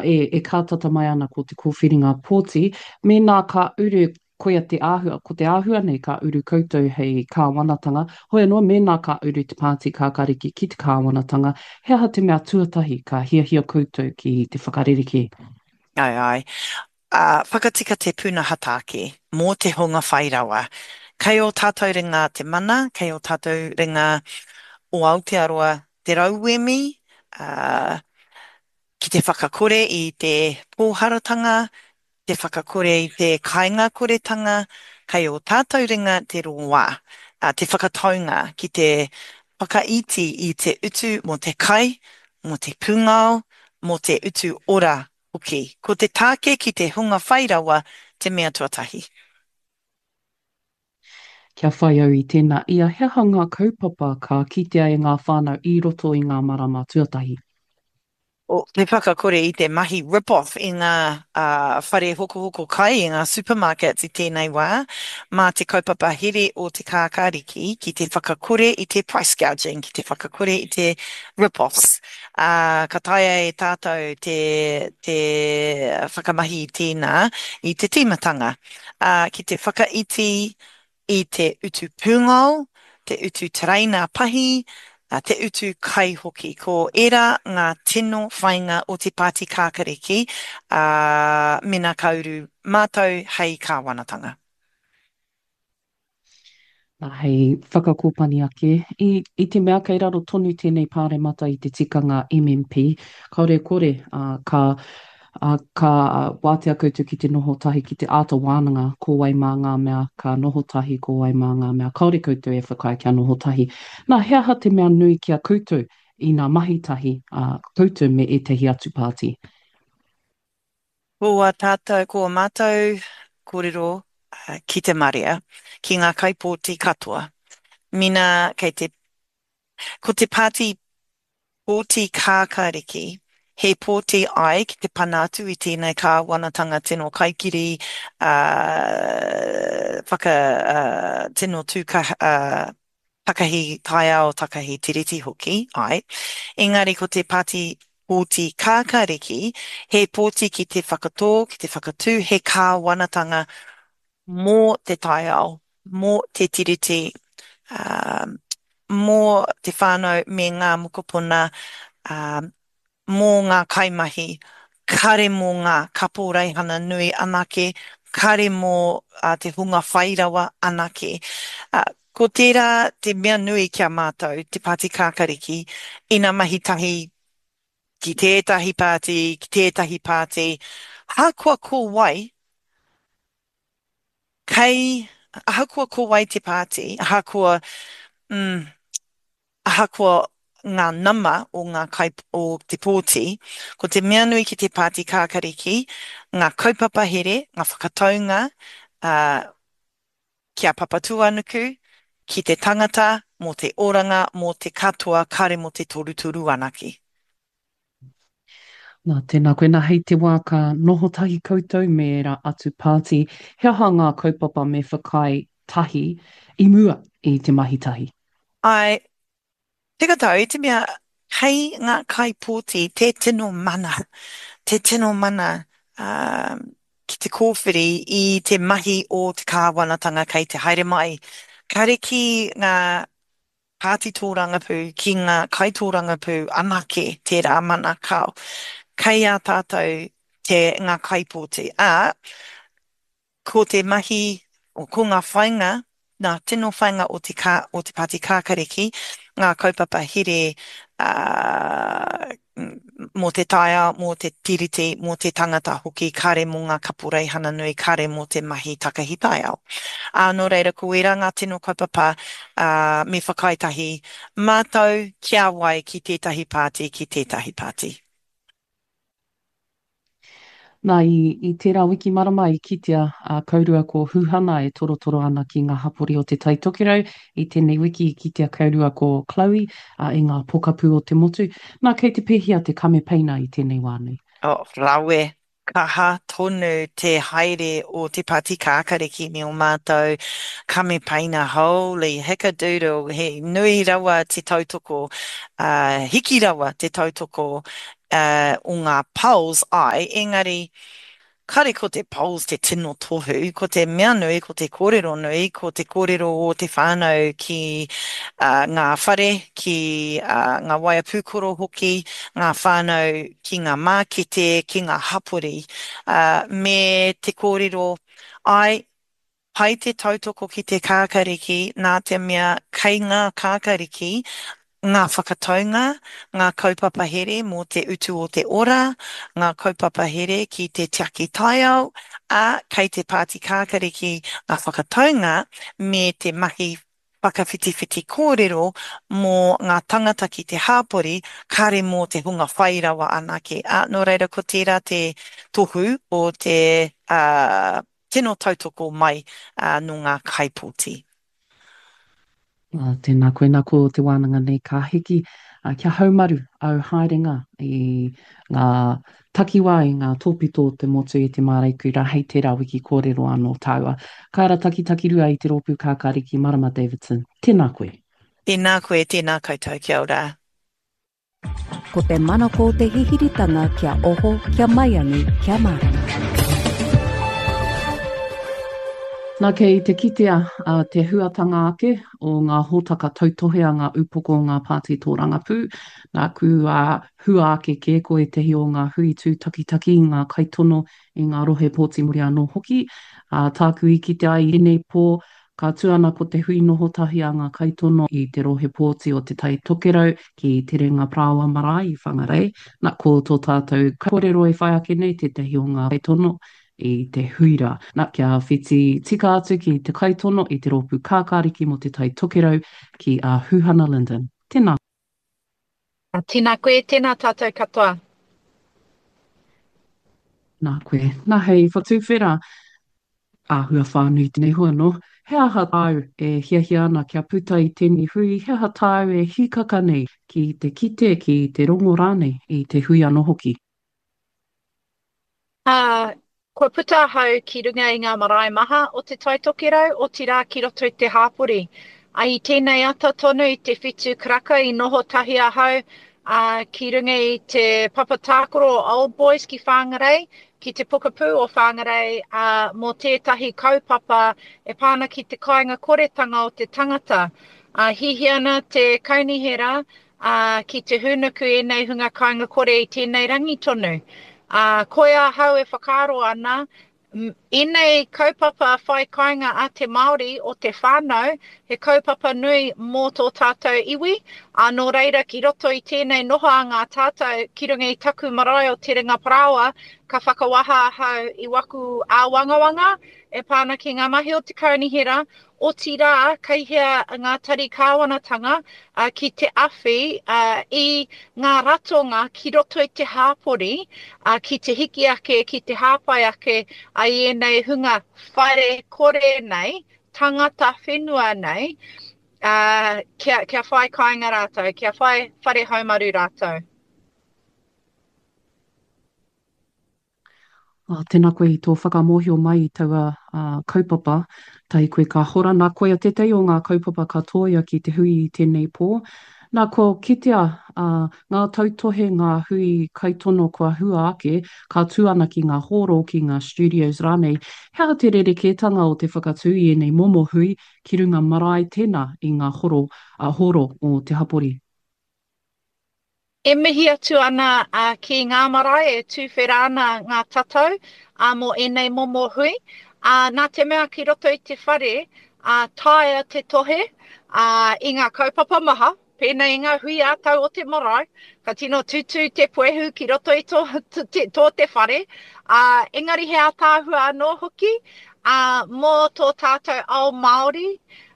E, e kātata mai ana ko te kōwhiringa pōti, mēnā ka uru koia te āhua, ko te āhua nei ka uru koutou hei kāwanatanga, hoi anō mēnā ka uru te Pāti Kākāriki ki te kāwanatanga, he aha te mea tuatahi ka hiahia koutou ki te whakarerekē? Āe, āe. Ā, whakatika te pūnaha tāke mō te hunga whai rawa. Kei ō tātou ringa te mana, kei ō tātou ringa o Aotearoa te rauemi, ā, ki te whakakore i te pōharatanga, te whakakore i te kaingakoretanga, kei ō tātou ringa te rongoā, te whakataunga ki te whakaiti i te utu mō te kai, mō te pūngao, mō te utu ora hoki. Ko te tāke ki te hunga whai rawa te mea tuatahi. Kia whai au i tēnā ia, he aha ngā kaupapa ka kitea e ngā whānau i roto i ngā marama tuatahi? O te whakakore i te mahi rip-off i ngā whare hokohoko kai, i ngā supermarkets i tēnei wā, mā te kaupapa here o Te Kākāriki ki te whakakore i te price gouging, ki te whakakore i te rip-offs. Ā, ka taea e tātou te, te whakamahi i tēnā i te tīmatanga, ā, ki te whakaiti i te utu pūngao, te utu tereina pahi, te utu kai hoki. Ko ērā ngā tino whāinga o te Pāti Kākariki, ā, mēnā ka uru mātou hei kāwanatanga. Nā, hei whakakōpani ake, i, i te mea kei raro tonu tēnei pāremata i te tikanga MMP, kāore e kore, ā, ka Ā, ka wātea koutou ki te noho tahi ki te āta wānanga ko wai mā ngā mea ka noho tahi, ko wai mā ngā mea kāore koutou e whakaae kia noho tahi. Nā, he aha te mea nui ki a koutou ina mahi tahi a koutou me ētahi atu pāti? Ko ā tātou, ko ā mātou kōrero ki te marea, ki ngā kaipōti katoa, mina kei te, ko te pāti Pōti kākāriki, He pōti ai ki te pana atu i tēnei kāwanatanga tino kaikiri, ā, whaka, ā, tino tūkaha, ā, takahi taiao, takahi tiriti hoki, āe. Engari ko te pāti pōti kākāriki, he pōti ki te whakatō, ki te whakatū he kāwanatanga mō te taiao, mō te tiriti, ā, mō te whānau me ngā mokopuna, ā, mō ngā kaimahi, kare mō ngā kaporeihana nui anake, kare mō te hunga whairawa anake. Ā, ko tērā te mea nui ki a mātou, te Pāti Kākariki, ina mahi tahi ki tētahi pāti, ki tētahi pāti, ahakoa ko wai, Kei, ahakoa ko wai te pāti, ahakoa, mm, ahakoa ngā nama o ngā kai, o te pōti, ko te mea nui ki te pāti kākariki, ngā kaupapa here, ngā whakataunga, ā, ki a Papatūānuku, ki te tangata, mō te oranga, mō te katoa, kāre mō te torutoru anake. Nā, tēnā koe. Nā, hei te wā ka noho tahi koutou me ērā atu pāti, he aha ngā kaupapa me whakaae tahi i mua i te mahi tahi? Āe, tika tau, i te mea kei ngā kaipōti te tino mana, te tino mana ki te kōwhiri i te mahi o te kāwanatanga kei te haere mai. Kāre ki ngā pāti tōrangapū ki ngā kaitōrangapū anake tērā mana kao. Kei a tātou te ngā kaipōti, ā, ko te mahi, ko ngā whainga, ngā tino whainga o te kā, o te Pāti Kākariki, ngā kaupapa here, ā, mō te taiao, mō te Tiriti, mō te tangata hoki, kāre mō ngā kaporeihana nui, kāre mō te mahi takahi taiao. Ā, nō reira, ko ērā ngā tino kaupapa, ā, me whakaae tahi mātou ki a wai, ki tētahi pāti, ki tētahi pāti. Nā, i, i tērā wiki marama i kitea a Kaurua ko Huhana e torotoro ana ki ngā hapori o Te Tai Tokerau. I tēnei wiki i kitea Kaurua ko Chloe a, i ngā pokapū o te motu. Nā, kei te pēhea te kamepeina i tēnei wā nei? Oh, rawe. Kaha tonu te haere o Te Pāti Kākariki me ō mātou kamepaina, holy hickadoodle, he nui rawa te tautoko, hiki rawa te tautoko o ngā polls, āe, engari Kare ko te polls te tino tohu, ko te mea nui, ko te kōrero nui, ko te kōrero o te whānau ki ngā whare, ki ngā waea pūkoro hoki, ngā whānau ki ngā mākete, ki ngā hapori, me te kōrero, āe, Pai te tautoko ki te kākariki nā te mea kei ngā kākariki ngā whakataunga, ngā kaupapa here mō te utu o te ora, ngā kaupapa here ki te tiaki taiao, ā, kei te Pāti Kākariki ngā whakataunga me te mahi whakawhitiwhiti kōrero mō ngā tangata ki te hāpori, kāre mō te hunga whai rawa anake. Ā, nō reira ko tērā te tohu o te, ā, tino tautoko mai nō ngā kaipōti. Ā, tēnā koe, nā ko te wānanga nei ka hiki, ā, kia haumaru āu haerenga i ngā takiwā, i ngā tōpito o te motu i te māreikura hei tērā wiki kōrero anō tāua. Kāra Takitakirua i te Rōpū Kākāriki Marama Davidson, tēnā koe. Tēnā koe, tēnā koutou, kia ora. Ko te manako o te hihiritanga kia oho, kia maiangi, kia mārama. Na kei te kitea te huatanga ake o ngā hōtaka tautohe a ngā upoko o ngā pāti tōrangapū. Nāku hua ake kē ko ētahi o ngā hui tūtakitaki i ngā kaitono i ngā rohe pōti muri anō hoki. Ā, tāku i kite ai i tēnei pō, Ka tū ana ko te hui noho tahi a ngā kaitono i te rohe pōti o Te Tai Tokerau ki Te Renga Parāoa Marae i Whangarei. Na, ko tō tātou kaikōrero e whai ake nei tētahi o ngā kaitono i te hui rā. Na, kia whiti tika atu ki te kaitono i te rōpū kākāriki mō Te Tai Tokerau ki a Huhana Lyndon. Tēnā. Tēnā koe, tēnā tātou katoa. Nā koe. Nā hei whatuwhera āhua whānui tēnei hua nō. He aha tāu e hiahia ana kia puta i tēnei hui, he aha tāu e hīkaka nei ki te kite, ki te rongo rānei i te hui anō hoki? Ā, kua puta ahau ki runga i ngā marae maha o Te Tai Tokerau, otirā ki roto i te hāpori. Ā, i tēnei ata tonu i te whitu karaka i noho tahi ahau, ā, ki runga i te papa tākaro o Old Boys ki Whangarei, ki te pokapū o Whangarei, ā, mō tētahi kaupapa e pā ana ki te kāinga koretanga o te tangata. Ā, hihia ana te kaunihera, ā, ki te hūnuku ēnei hunga kāinga kore i tēnei rangi tonu. Ā, koia ahau e whakaaro ana, ēnei kaupapa whai kāinga a te Māori o te whānau, he kaupapa nui mō tō tātou iwi, ā, nō reira ki roto i tēnei noho a ngā tātou ki runga i taku marae o Te Ringa Parāoa, ka whakawaha ahau i waku āwangawanga e pā ana ki ngā mahi o te kaunihera, Otirā, kei hea ngā tari kāwanatanga ki te awhi i ngā ratonga ki roto i te hāpori ki te hiki ake, ki te hāpai ake i ēnei hunga whare kore nei, tangata whenua nei, kia whai kāinga rātou, kia whai whare haumaru rātou. Ā, tēnā koe i tō whakamōhio mai i taua kaupapa, tahi koe ka hora. Nā, koia tētahi o ngā kaupapa ka tōia ki te hui i tēnei pō. Nā, kua kitea ngā tautohe, ngā hui kaitono kua hua ake, ka tū ana ki ngā hōro, ki ngā studios rānei. He aha te rerekētanga o te whakatū i ēnei momo hui ki runga marae tēnā i ngā horo, hōro o te hapori? E mihi atu ana ki ngā marae e tūwhera ana ngā tatau mō ēnei momo hui. Nā te mea ki roto i te whare, taea te tohe i ngā kaupapa maha, pēnei i ngā hui ā-tau o te marae, ka tino tūtū te puehu ki roto i tō, tō te whare, engari he ātaahua anō hoki mō tō tātou ao Māori,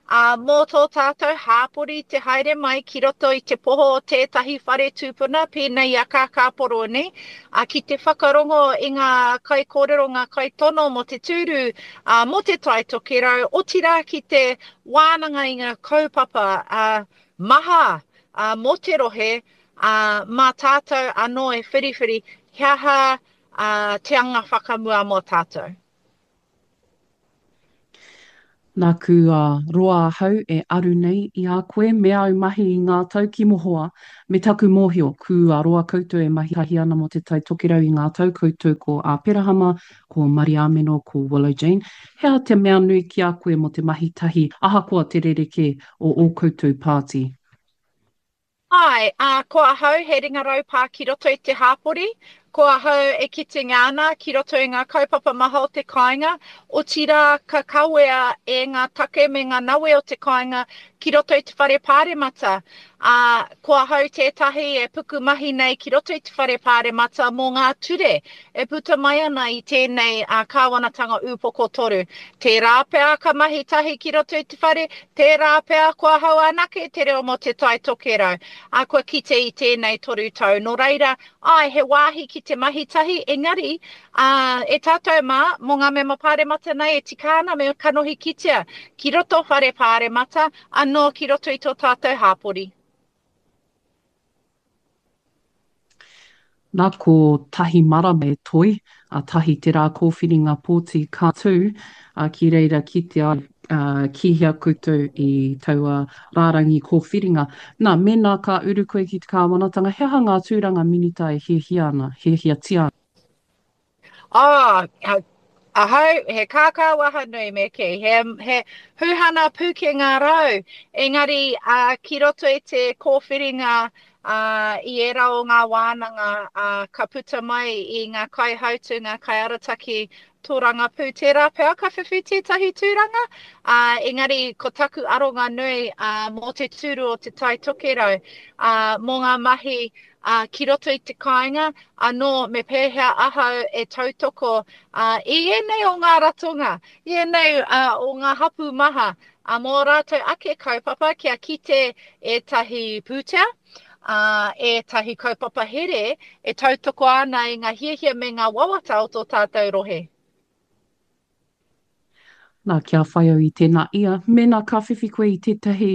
Ā, mō tō tātou hāpori te haere mai ki roto i te poho o tētahi whare tūpuna pēnei i a Kākāporoni, ā, ki te whakarongo i ngā kaikōrero, ngā kaitono mō te tūru, ā, mō Te Tai Tokerau, otirā ki te wānanga i ngā kaupapa, ā, maha, ā, mō te rohe, ā, mā tātou anō e whiriwhiri he aha, te anga whakamua mō tātou. Nāku a roa ahau e aru nei i a koe me āu mahi i ngā tau ki mohoa, me taku mōhio, kua roa koutou e mahi tahi ana mō Te Tai Tokerau i ngā tau koutou ko Āperahama, ko Mariāmeno, ko Willow Jane. He aha te mea nui ki a koe mō te mahi tahi ahakoa te rerekē o ō koutou pāti? Āe, ā, ko ahau he ringa raupā ki roto i te hāpori, ko ahau e kitenga ana ki roto i ngā kaupapa maha o te kāinga, otirā ka kawea e ngā take me ngā nawe o te kāinga ki roto i te whare pāremata. Ā, ko ahau tētahi e puku mahi nei ki roto i te whare pāremata mō ngā ture e puta mai ana i tēnei kāwanatanga ūpoko toru. Tērā pea ka mahi tahi ki roto i te whare, tērā pea ko ahau anake te reo mō Te Tai Tokerau, ā, kua kite i tēnei toru tau. Nō reira, āe, he wāhi ki te mahi tahi, engari, ā, e tātou mā, mō ngā mema pāremata nei e tika ana me kanohi kitea ki roto whare pāremata, anō ki roto i tō tātou hāpori. Na ko tahi marama e toi, a tahi te rā kōwhiringa pōti ka tū, a ki reira kitea ai, a ki hea koutou i taua rārangi kōwhiringa. Na, mēnā ka uru koe ki te kāwanatanga, he aha ngā tūranga minita e hiahia ana, hiahiatia ana? Oh, ahau, he kākā waha nui me kī, he, he huhana pūkenga rau, engari uh, ki roto i te kōwhiringa uh, i ērā o ngā wānanga uh, ka puta mai i ngā kaihautū, ngā kaiarataki tōrangapū, tērā pea ka whiwhi tētahi tūranga, uh, engari ko taku aronga nui uh, mō te tūru o Te Tai Tokerau, uh, mō ngā mahi ā, ki roto i te kāinga, anō me pēhea ahau e tautoko, ā, i ēnei o ngā ratonga, i ēnei, ā, o ngā hapū maha, ā, mō ō rātou ake kaupapa kia kite ētahi pūtea, ā, ētahi kaupapa here e tautoko ana i ngā hiahia me ngā wawata o tō tātou rohe. Nā, kia whai au i tēnā ia, mēnā ka whiwhi koe i tētahi,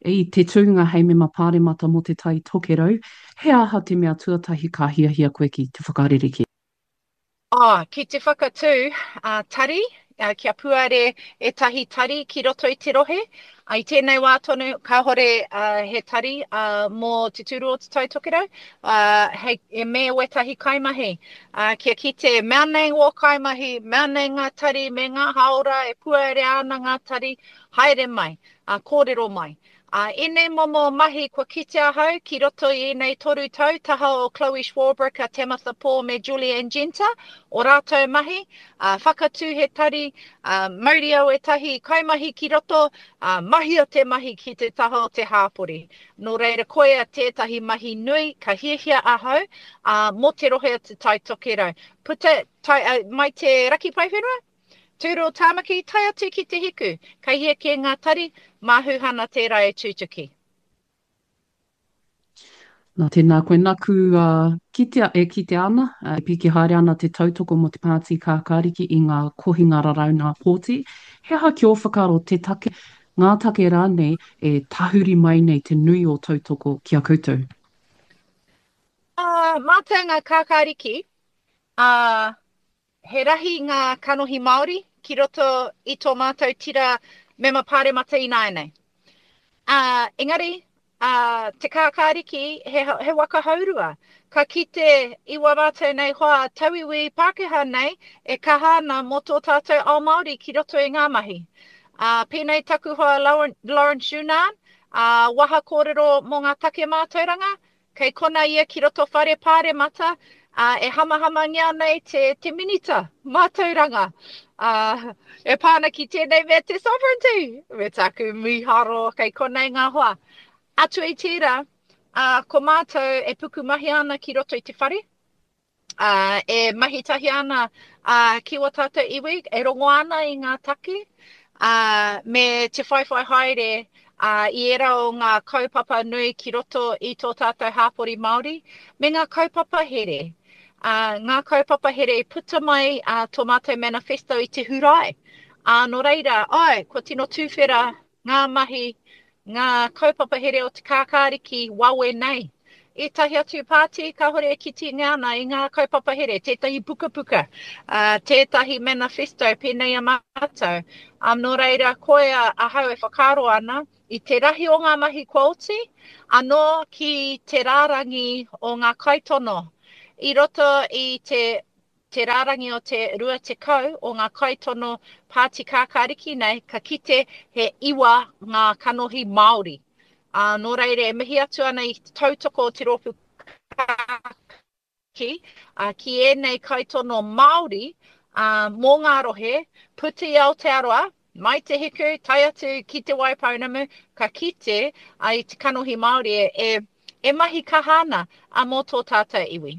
i te tūnga hei mema pāremata mō Te Tai Tokerau, he aha te mea tuatahi ka hiahia koe ki te whakarerekē? Oh, ki te whakatū tari, kia puare ētahi tari ki roto i te rohe. I tēnei wā tonu, kāhore he tari mō te tūru o Te Tai Tokerau, hei, me wētahi kaimahi. Kia kite, mea nei wō kaimahi, mea nei ngā tari me ngā hāora e puarea ana ngā tari, haere mai, kōrero mai. Ā, ēnei momo mahi kua kite ahau ki roto i ēnei toru tau, taha o Chloe Swarbrick, a Tamatha Paul me Julie-Anne Genter, o rātou mahi, ā, whakatū he tari, ā, mauria ētahi kaimahi ki roto, ā, mahia te mahi ki te taha o te hāpori. Nō reira, koia tētahi mahi nui ka hiahia ahau, ā, mō te rohe o Te Tai Tokerau. Puta, tae, ā, mai te raki paewhenua? Tūru o Tāmaki, tae atu ki Te Hiku. Kei hea kē ngā tari, mā Huhana tērā e tūtuki. Nā, tēnā koe. Naku kitea, e kitea ana, e piki haere ana te tautoko mō te Pāti Kākāriki i ngā kohinga raraunga pōti. He aha ki ō whakaaro te take, ngā take rānei e tahuri mai nei te nui o tautoko ki a koutou? Ā, mātou ngā Kākāriki, ā, He rahi ngā kanohi Māori ki roto i tō mātou tira mema pāremata ināianei. Ā, engari, ā, te kākāriki he, he waka hourua. Ka kite i wā mātou nei hoa tauiwi Pākehā nei e kaha ana mō tō tātou ao Māori ki roto i ngā mahi. Ā, pēnei taku hoa Lawrence Younan, ā, waha kōrero mō ngā take mātauranga, Kei kona ia ki roto whare pāremata, ā, e hamahamangia ana e te, te Minita Mātauranga, ā, e pā ana ki tēnei mea te sovereignty, me tāku mīharo kei konei ngā hoa. Atu i tērā, ā, ko mātou e pukumahi ana ki roto i te whare, ā, e mahi tahi ana ā, ki wā tātou iwi, e rongo ana i ngā take, ā, me te whaiwhai haere ā, i ērā o ngā kaupapa nui ki roto i tō tātou hāpori Māori, me ngā kaupapa here. Ā, ngā kaupapa here i puta mai ā, tō mātou manifesto i te Hurae. Ā, nō reira, āe, kua tino tūwhera ngā mahi, ngā kaupapa here o te kākāriki wawe nei. Ētahi atu pāti kāhore e kitinga ana i ngā kaupapa here, tētahi pukapuka, tētahi manifesto pēnei a mātou. Nō reira, koia ahau e whakaaro ana i te rahi o ngā mahi kua oti, anō ki te rārangi o ngā kaitono. I roto i te te rārangi o te 20 o ngā kaitono pāti kākāriki nei, ka kite he iwa ngā kanohi Māori. Ā, nō reira e mihi atu ana i te tautoko o te rōpū kākāriki, ā, ki ēnei kaitono Māori, ā, mō ngā rohe, puta i Aotearoa, mai Te Hiku, tae atu ki Te Waipounamu, ka kite i te kanohi Māori e, e, e mahi kaha ana, ā, mō tō tātou iwi.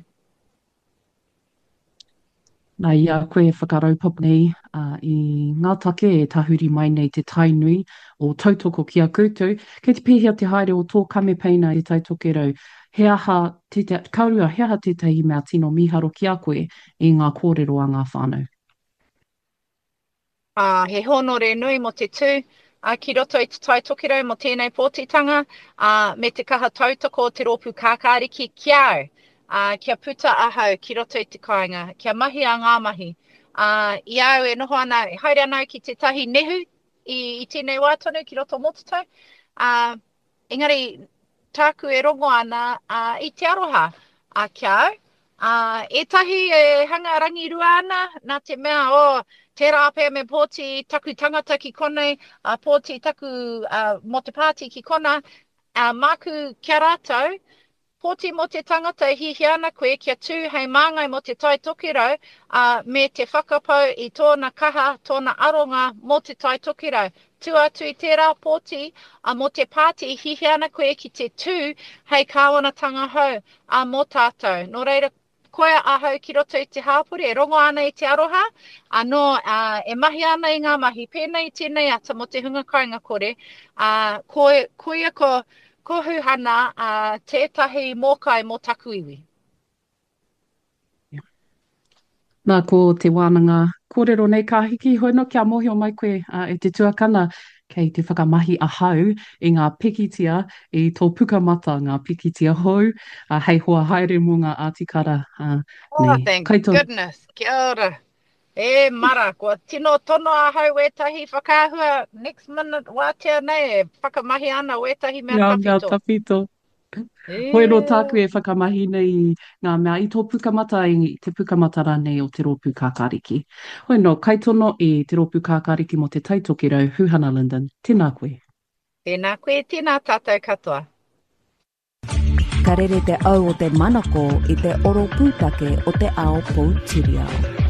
Nā, i a koe e whakaraupapa nei i ngā take e tahuri mai nei te tai nui o tautoko ki a koutou, kei te pēhea te haere o tō kamepeina i Te Tai Tokerau? He aha tētahi, ka rua, he aha tētahi mea tino mīharo ki a koe i ngā kōrero a ngā whānau? Ā, he hōnore nui mō te tū, ā, ki roto i Te Tai Tokerau mō tēnei pōtitanga, ā, me te kaha tautoko o te Rōpū Kākāriki ki a au, ā, kia puta ahau ki roto i te kāinga, kia mahia ngā mahi. Ā, i a au e noho ana, e haere ana au ki tētahi nehu i, i tēnei wā tonu ki roto o Mototau, ā, Engari, tāku e rongo ana ā, i te aroha ā, ki a au. Ā, ētahi e hanga rangirua ana, nā te mea, oh, tērā pea me pōti taku tangata ki konei, ā, pōti taku, ā, mō te pāti ki konā, ā, māku ki a rātou, Pōti mō te tangata e hiahia ana koe kia tū hei māngai mō Te Tai Tokerau, ā, me te whakapau i tōna kaha, tōna aronga mō Te Tai Tokerau. Tua atu i tērā, pōti, ā, mō te pāti e hiahia ana koe ki te tū hei kāwanatanga hou, ā, mō tātou. Nō reira, Koia ahau ki roto i te hāpori e rongo ana i te aroha, anō, ā, e mahi ana i ngā mahi pēnei i tēnei ata mō te hunga kāinga kore, ā, ko, koia ko, ko Huhana, ā, tētahi mōkai mō taku iwi. Nā, ko te wānanga kōrero nei ka hiki, hoi nō kia mōhio mai koe, ā, e te tuakana, Kei te whakamahi ahau i ngā pikitia i tō pukamata, ngā pikitia hou, hei hoa haere mō ngā ātikara Oh, nei. thank Kaito. goodness. Kia ora. E mara, kua tino tono ahau wētahi whakaahua next minute wātea nei e whakamahi ana wētahi mea Ngā mea tawhito. tawhito. Hoi anō tāku e whakamahi nei i ngā mea i tō pukamata, i te pukamata rānei o Te Rōpū Kākāriki. Hoi anō, kaitono i Te Rōpū Kākāriki mō Te Tai Tokerau, Huhana Lyndon, tēnā koe. Tēnā koe, tēnā tātou katoa. Ka rere te au o te manako i te oro pūtake o te ao poutiriao.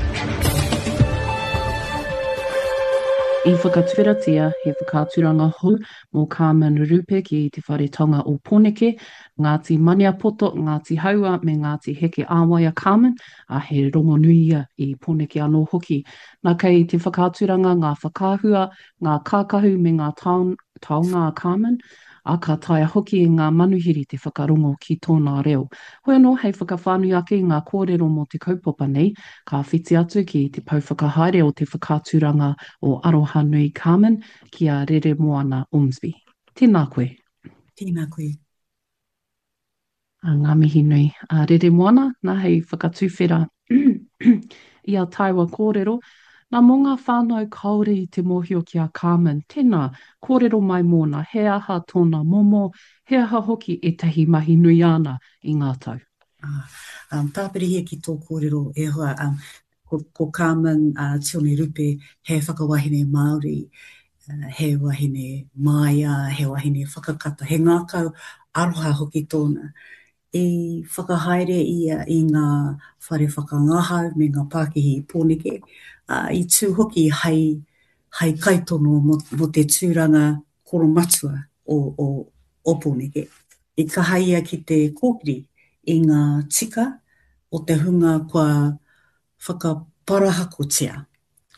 I whakatuwheratia he whakaaturanga hou mō Carmen Rupe ki Te Whare Taonga o Pōneke, Ngāti Maniapoto, Ngāti Haua me Ngāti Heke ā-wai a Carmen, ā, he rongonui ia i Pōneke anō hoki. Nā kei te whakaaturanga ngā whakaahua, ngā kākahu me ngā taonga a Carmen, ā, ka taea hoki e ngā manuhiri te whakarongo ki tōna reo. Hoi anō, hei whakawhānui ake i ngā kōrero mō te kaupapa nei, ka whiti atu ki te pou whakahaere o te whakaaturanga o Arohanui Carmen, ki a Reremoana Ormsby. Tēnā koe. Tēnā koe. A, ngā mihi nui. A Reremoana, nā hei whakatuwhera i a tāua kōrero. Nā, mō ngā whānau kāore i te mōhio ki a Carmen, tēnā, kōrero mai mōna, he aha tōna momo, he aha hoki ētahi mahi nui āna i ngā tau. Ah, um, tāpirihia ki tō kōrero e hoa, um, Ko, ko Carmen uh, Tione Rupe he whakawahine Māori, uh, he wahine māia, he wahine whakakata, he ngākau aroha hoki tōna. I whakahaere ia i ngā whare whakangahau me ngā pākihi i Pōneke, uh, i tū hoki hei, hei kaitono mō, mō te tūranga koromatua o, o, o Pōneke. I kaha ia ki te kōkiri i ngā tika o te hunga kua whakaparahakotia.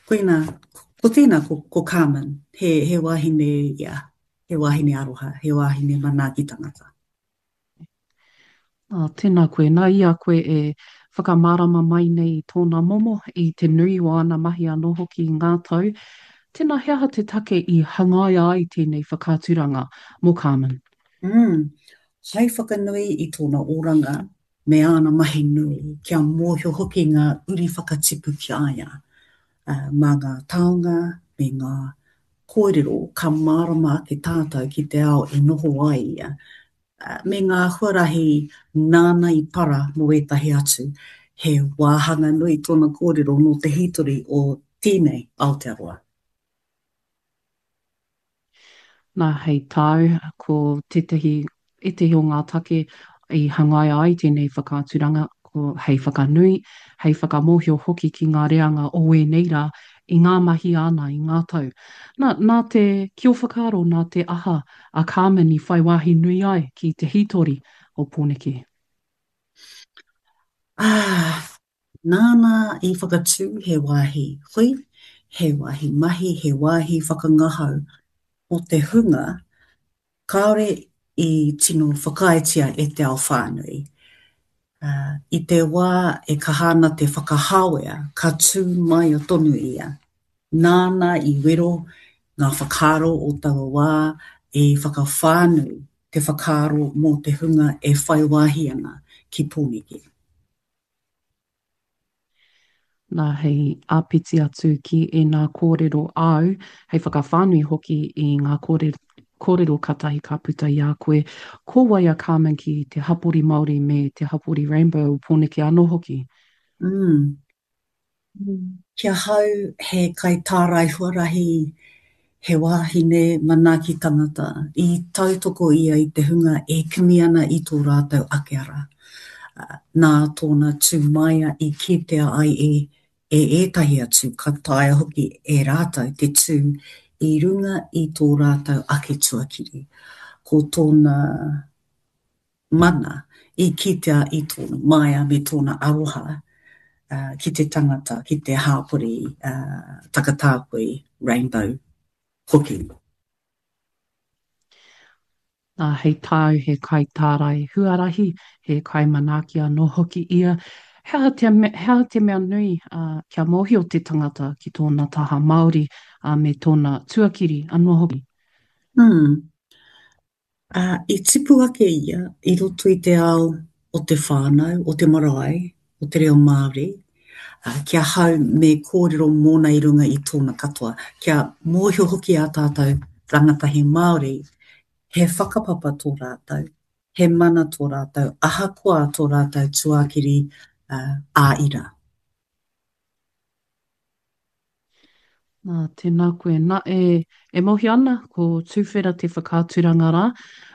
Koina, ko tēnā ko, ko Carmen, he, he wahine ia, he wahine aroha, he wahine manaaki tangata. Ā, tēnā koe. Nā i a koe e whakamārama mai nei i tōna momo, i te nui o āna mahi anō hoki i ngā tau, tēnā he aha te take i hangaia ai tēnei whakaaturanga mō Carmen? Mm. Hai whakanui i tōna oranga me āna mahi nui, kia mōhio hoki ngā uri whakatipu ki a ia. Mā ngā taonga me ngā kōrero ka mārama ake tātou ki te ao e noho ai ia, me ngā huarahi nāna i para mō ētahi atu. He wāhanga nui tōna kōrero nō te hītori o tēnei Aotearoa. Nā, hei tāu, ko tētahi, ētahi o ngā take i hangaia ai tēnei whakaaturanga, ko hei whakanui, hei whakamōhio hoki ki ngā reanga o ēnei rā i ngā mahi āna i ngā tau. Nā, nā te, ki ō whakaaro, nā te aha a Carmen i whai wāhi nui ai ki te hītori o Pōneke? Ā, Nāna i whakatū he wāhi hui, he wāhi mahi, he wāhi whakangahau mō te hunga kāore i tino whakaaetia e te ao whānui. I te wā e kaha ana te whakahāwea, ka tū māia tonu ia. Nāna i wero ngā whakaaro o taua wā i whakawhānui te whakaaro mō te hunga e whai wāhi ana ki Pōneke. Nā, hei āpiti atu ki ēnā kōrero āu, hei whakawhānui hoki i ngā kōrero, kōrero katahi ka puta i a koe, ko wai a Carmen ki te hapori Māori me te hapori Rainbow o Pōneke anō hoki? Mm. Ki ahau he kaitārai huarahi, he wāhine manaaki tangata. I tautoko ia i te hunga e kimi ana i tō rātou ake ara. Nā tōna tū māia i kitea ai e e ētahi atu ka taea hoki e rātou te tū i runga i tō rātou ake tuakiri. Ko tōna mana i kitea i tōna māia me tōna aroha ki te tangata, ki te hāpori takatāpui, rainbow, hoki. Nā, hei tāu he kaitārai huarahi, he kaimanaaki anō hoki ia. He aha te, he aha te mea nui kia mōhio te tangata ki tōna taha Māori me tōna tuakiri anō hoki? Mm. Ā, i tipu ake ia i roto i te ao o te whānau, o te marae, o te reo Māori, ā, ki ahau me kōrero mōna i runga i tōna katoa, kia mōhio hoki ā tātou rangatahi Māori, he whakapapa tō rātou, he mana tō rātou, ahakoa tō rātou tuakiri ā-ira. Nā, tēnā koe. Nā, e, e mōhio ana, ko Tūwhera te whakaaturanga rā.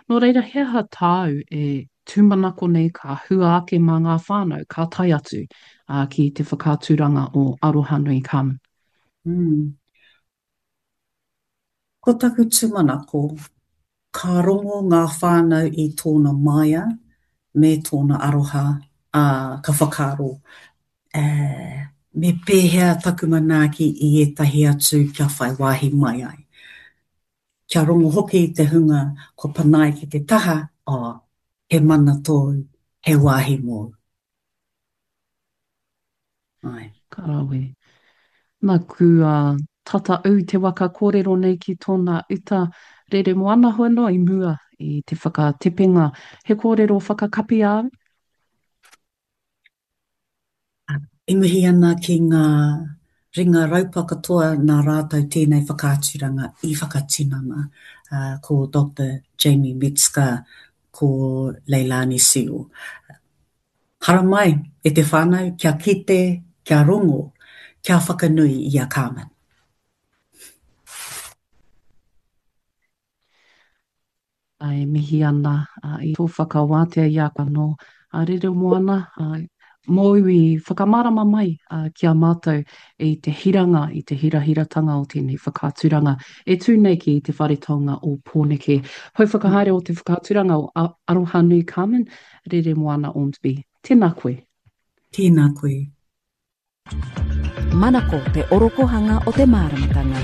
Nō reira, he aha tāu e tūmanako nei ka hua ake mā ngā whānau ka tae atu ā, ki te whakaaturanga o Arohanui Carmen? Mm. Ko taku tūmanako, ka rongo ngā whānau i tōna māia me tōna aroha, ā, ka whakaaro, ē, me pēhea taku manaaki i ētahi atu kia whai wāhi mai ai. Kia rongo hoki te hunga kua panaia ki te taha, ā, he mana tōu, he wāhi mōu. Āe. Ka rawe. Naku a tata u te waka korero nei ki tona uta rere moana hoi noa i mua i te whakatepenga. He korero whakakapi āu? E mihi ana ki ngā ringa raupa katoa nā rātou tēnei whakaaturanga i whakatinana, ko Doctor Jamie Metzger, ko Leilani Seal. Haramai e te whānau kia kite, kia rongo, kia whakanui i a Carmen. E mihi ana i tō whakawātea i a koe anō, a Reremoana, mōu i whakamārama mai ki a mātou i te hiranga, i te hirahiratanga o tēnei whakaaturanga e tū nei ki Te Whare Taonga o Pōneke. Pou whakahaere o te whakaaturanga o Arohanui Carmen, Reremoana Ormsby. Tēnā koe. Tēnā koe. Manako te orokohanga o te māramatanga.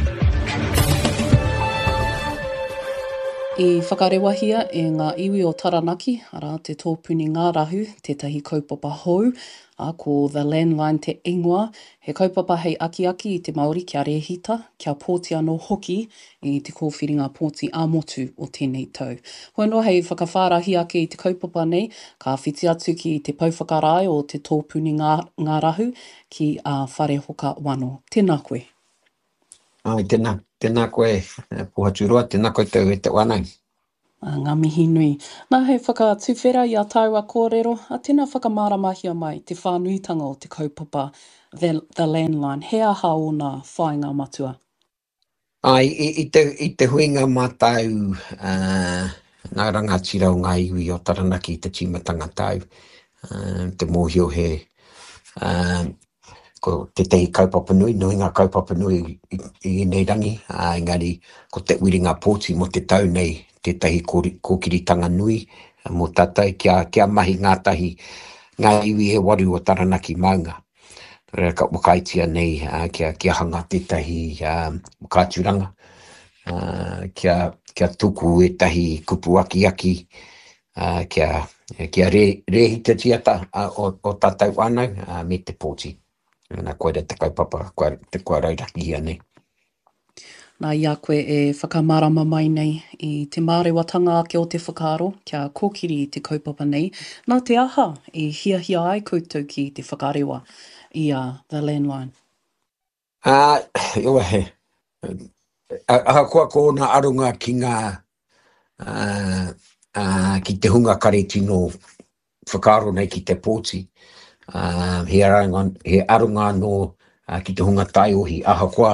I whakarewahia e ngā iwi o Taranaki, arā, te tōpuni ngārahu, tētahi kaupapa hou, ā, ko The Landline te ingoa, he kaupapa hei akiaki i te Māori kia rēhita, kia pōti anō hoki i te kōwhiringa pōti ā-motu o tēnei tau. Hoi anō hei whakawhārahi ake i te kaupapa nei, ka whiti atu ki te pouwhakarae o te tōpuni ngārahu, ki a Wharehoka Wano. Tēnā koe. Āe, tēnā, tēnā koe Pohaturoa, tēnā koutou e te whānau. Ā, ngā mihi nui. Nā, hei whakatuwhera i a tāua kōrero, ā, tēnā whakamāramahia mai te whānuitanga o te kaupapa The, The Landline, he aha ōna whāinga matua? Āe, i, i te, i te huinga mātau, ā, ngā rangatira o ngā iwi o Taranaki i te tīmatanga tau, ā, te mōhio he, ā, Ko tētahi kaupapa nui, nui ngā kaupapa nui i, i ēnei rangi, ā, engari ko te whiringa pōti mō te tau nei tētahi kōkiritanga nui mō tātou kia, kia mahi ngātahi ngā iwi e waru o Taranaki maunga. Nō reira ka whakaaetia nei ā, kia, kia hanga tētahi ā, whakaaturanga, ā, kia, kia tuku ētahi kupu akiaki ā, kia, kia rē, rēhitatia ta, ā, o, o tātou whānau, ā, me te pōti. Nā, koira te kaupapa kua, te, kua raurakihia nei. Nā, i a koe e whakamārama mai nei i te mārewatanga ake o te whakaaro kia kōkiri i te kaupapa nei, nā te aha i hiahia ai koutou ki te whakarewa i a The Landline? Ā, he, ahakoa ko ōna aronga ki ngā, ā, ā, ki te hunga kare tino whakaaro nei ki te pōti, ā, he aronga, he aronga anō ki te hunga taiohi, ahakoa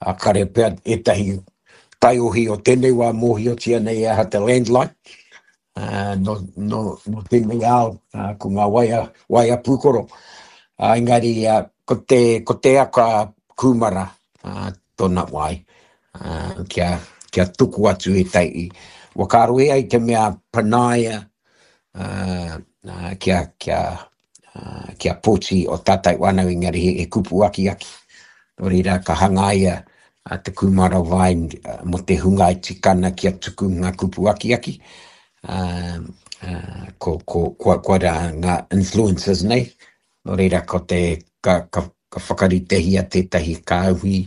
ā, kare pea ētahi taiohi o tēnei wā mōhiotia nei e aha te landline, ā, nō, nō, nō tēnei ao, ā, ko ngā waea, waea pūkoro. Ā, engari, ā, ko te, ko te aka kūmara, ā, tōna wai, ā, kia, kia tuku atu ētahi whakaaro e ai te mea panaia, ā, ā, kia, kia, kia pōti o tātou whānau engari he, he kupu akiaki. Nō reira, ka hangaia te kūmara vine mō te hunga e tika ana kia tuku ngā kupu akiaki. Uh, uh, ko, ko, kua, kua rā ngā influencers nei. Nō reira, ko te, ka, ka, ka whakaritehia tētahi kāhui,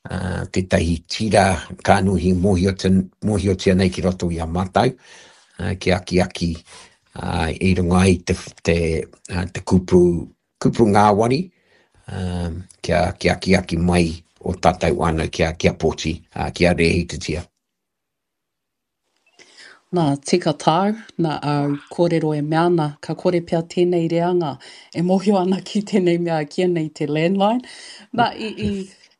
uh, tētahi tira kānuhi mōhiotia, mōhiotia nei ki roto i a mātou, uh, ki akiaki ā, i runga i te, te, te kupu, kupu ngāwari, ā, kia, kia akiaki mai o tātou whānau kia, kia pōti, ā, kia rēhitatia. Nā, tika tāu, nā āu kōrero e mea ana, ka kore pea tēnei reanga e mōhio ana ki tēnei mea e kīia nei te landline. Nā, i, i,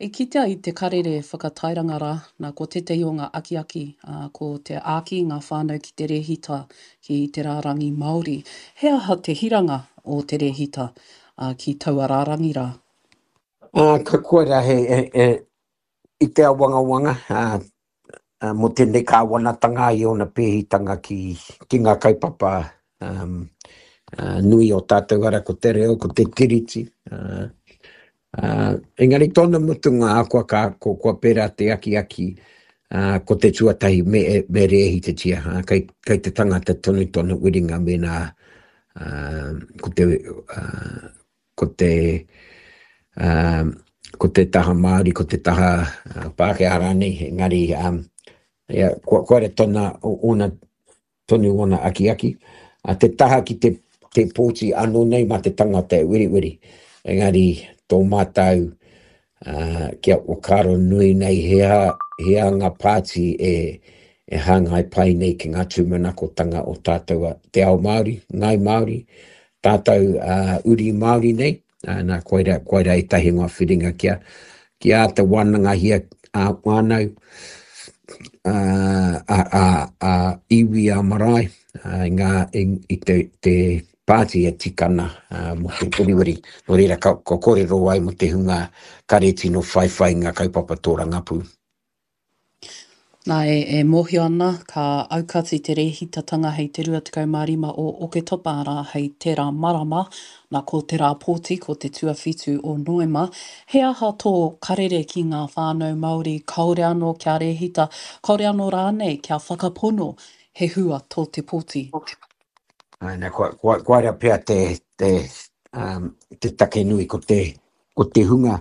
I kitea i te karere whakatairanga rā, nā, ko tētahi o ngā akiaki, ā, ko te āki i ngā whānau ki te rēhita ki te rārangi Māori. He aha te hiranga o te rēhita, ā, ki taua rārangi rā? Ā, ka koira he, he, he, i te awangawanga, ā, mō tēnei kāwanatanga i ōna pēhitanga ki, ki ngā kaupapa um, uh, nui o tātou ara, ko te reo, ko te tiriti. Uh, uh, engari tōna mutunga ahakoa ka, ko, kua pērā te akiaki, uh, ko te tuatahi me, me rēhitatia, uh, kei, kei te tangata tonu tōna wiringa mēnā uh, ko te, uh, ko te, um, ko te taha Māori, ko te taha uh, Pākehā rānei, engari um, ia, kua, kua re tona, ona, tonu ona akiaki. A te taha ki te, te pōti anō nei mā te tangata e weriweri, engari tō mātou uh, kia whakaaro nui nei he aha, he aha ngā pāti e, e hāngai pai nei ki ngā tūmanakotanga o tātou a te ao Māori, Ngāi Māori, tātou uh, uri Māori nei, uh, nā, koira, koira ētahi o ngā whiringa kia, kia āta wānangahia a whānau, a, a, a, a iwi a marae, uh, i, ngā, i, i te, te pāti e tika ana uh, mō te weriweri. Nō reira, ka, ka kōrero ai mō te hunga kare tino whaiwhai ngā kaupapa tōrangapū. Nā, e, e mōhio ana, ka aukati te rēhitatanga hei te 25 o Oketopa, arā, hei tērā marama, nā, ko te rā pōti, ko te tuawhitu o Noema. He aha tō karere ki ngā whānau Māori kāore anō kia rēhita, kāore anō rānei kia whakapono he hua tō te pōti? Āe, nā, kua, kua, koira pea te, te, um, te take nui ko te, ko te hunga,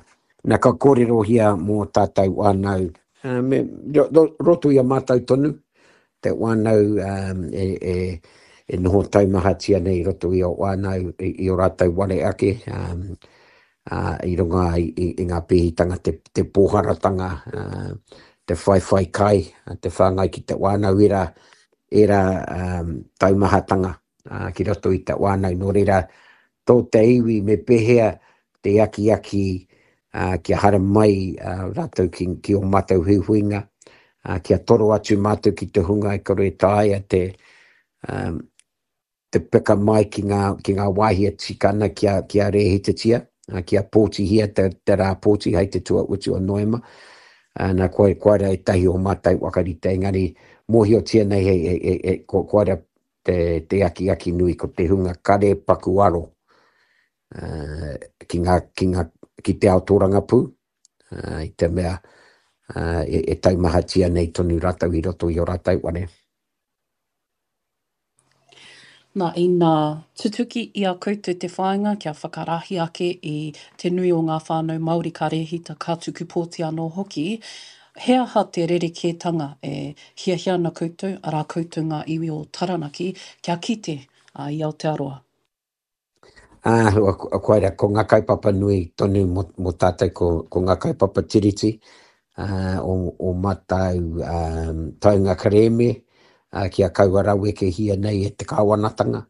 na ka kōrerohia mō tātou whānau, me roto i a mātou tonu, te whānau e, e, e noho taumahatia nei i roto i o whānau, i, i o rātou ware ake, um, uh, i runga i, i, i ngā pēhitanga, te, te pōharatanga, uh, te whaiwhai kai, te whāngai ki te whānau, ērā, ērā um, taumahatanga uh, ki roto i te whānau. Nō reira, tō te iwi me pēhea te akiaki kia haere mai rātou ki, ki ō mātou huihuinga, kia toro atu mātou ki te hunga e kore e taea te, um, te peka mai ki ngā, ki ngā wāhi e tika ana kia, kia rēhitatia, kia pōtihia te, te rā pōti hei te tuautu o Noema. Nā, koe, koira ētahi o mātou whakarite, engari mōhiotia nei he, he, he, he, ko, koira te, te akiaki nui ko te hunga kare paku aro uh, ki, ngā, ki, ngā, ki te ao tōrangapū, uh, i te mea uh, e, e taumahatia nei tonu rātou i roto i o rātou ware. Nā, ina tutuki i a koutou te whāinga kia whakarahi ake i te nui o ngā whānau Māori ka rēhita, ka tuku pōti anō hoki, He aha te rerekētanga e hiahia ana koutou, arā koutou ngā iwi o Taranaki, kia kite i Aotearoa? Ā, koira, ko ngā kaupapa nui tonu mō, mō tātou, ko, ko ngā kaupapa tiriti, ā, o, o mātou ā, taunga kerēme, ā, kia kaua rawekehia nei e te kāwanatanga,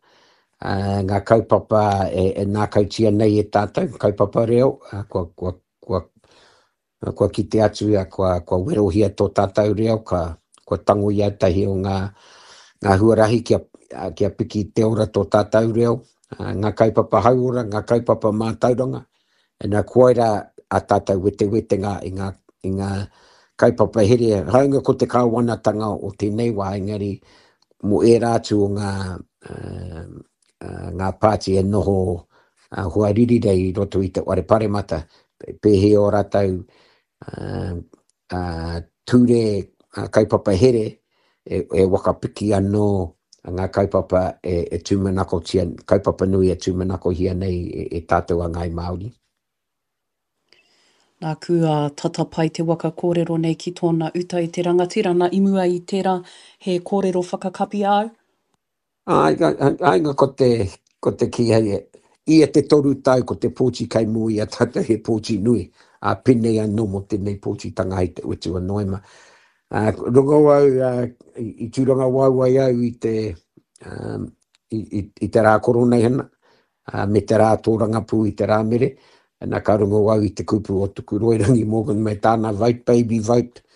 ā, ngā kaupapa e, e nākautia nei e tātou, kaupapa reo, ā, kua, kua, kua Kua kite atu ia, kua, kua werohia tō tātou reo, ka, kua tango i ētahi o ngā, ngā huarahi kia, kia piki te ora tō tātou reo, ngā kaupapa hauora, ngā kaupapa mātauranga. Ina koira a tātou wetewetenga i ngā, i ngā kaupapa here, hāunga ko te kāwanatanga o tēnei wā, engari mō ērā atu o ngā, uh, ngā pāti e noho hoariri nei i roto i te whare paremata, pēhea ō rātou ture kaupapa here e, e whakapiki anō ngā kaupapa e, e tūmanakotia, kaupapa nui e tūmanakohia nei e, e tātou a Ngāi Māori. Nāku a tata pai te waka kōrero nei ki tōna uta i te rangatira, na i mua i tērā he kōrero whakakapi āu? Āe, āe, ko te, ko te kī hei, ia te toru tau ko te pōti kei mua i a tātou he pōti nui, ā, pēnei anō mō tēnei pōtitanga hei te utu o Noema. Ā, rongo au, ā, i, i tūrangawaewae au i te, ā, i, i, i te rā koroneihana, ā, me te rā tōrangapū i te Rāmere, nā ka rongo au i te kupu o Tukuroirangi Morgan me tāna vote baby vote,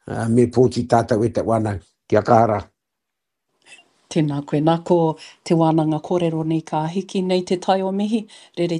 ā, me pōti tātou e te wānau. Kia kaha rā. Tēnā koe. Nā, ko te wānanga kōrero nei ka hiki nei te tai o mihi, rere.